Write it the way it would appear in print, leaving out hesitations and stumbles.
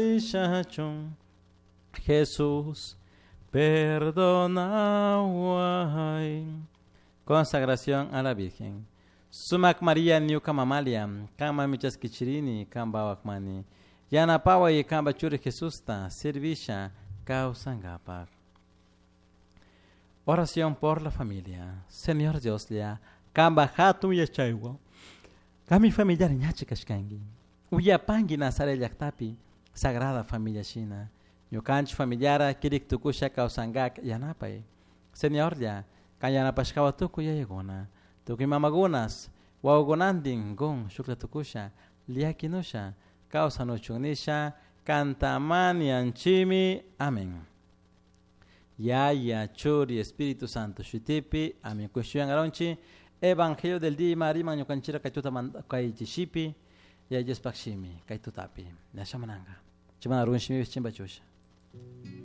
Shachun Jesús perdonaway. Consagración a la Virgen. Sumak María ñuka mamalia, kama michaskichirini, kamba wakmani. Yanapaway kamba churi Jesusta, servisha kawsankapak. Oración por la familia. Señor Dios lia, kamba hatun yachaywan. Kami familiar ñachi kashkanki. Uyapanki Nazaret llaktapi, Sagrada Familia shina. Ñukanchik familiara kirik tukusha kawsankak yanapay. Señorlla, kan yanapashkawa tukuy yayakuna. Tukuy mamakunas, wawakunantin kun shukla tukusha, llakinusha, kawsanuchun nisha, kantamanianchimi. Amén. Yaya, Churi, Espíritu Santo, shutipi, amén. Kushuyan aronchi, Evangelio del día mariman ñukanchira kaytuta kaychishipi, yayespakshimi, kaytutapi. Nashamananga. Chimana runshimi chimbachusha.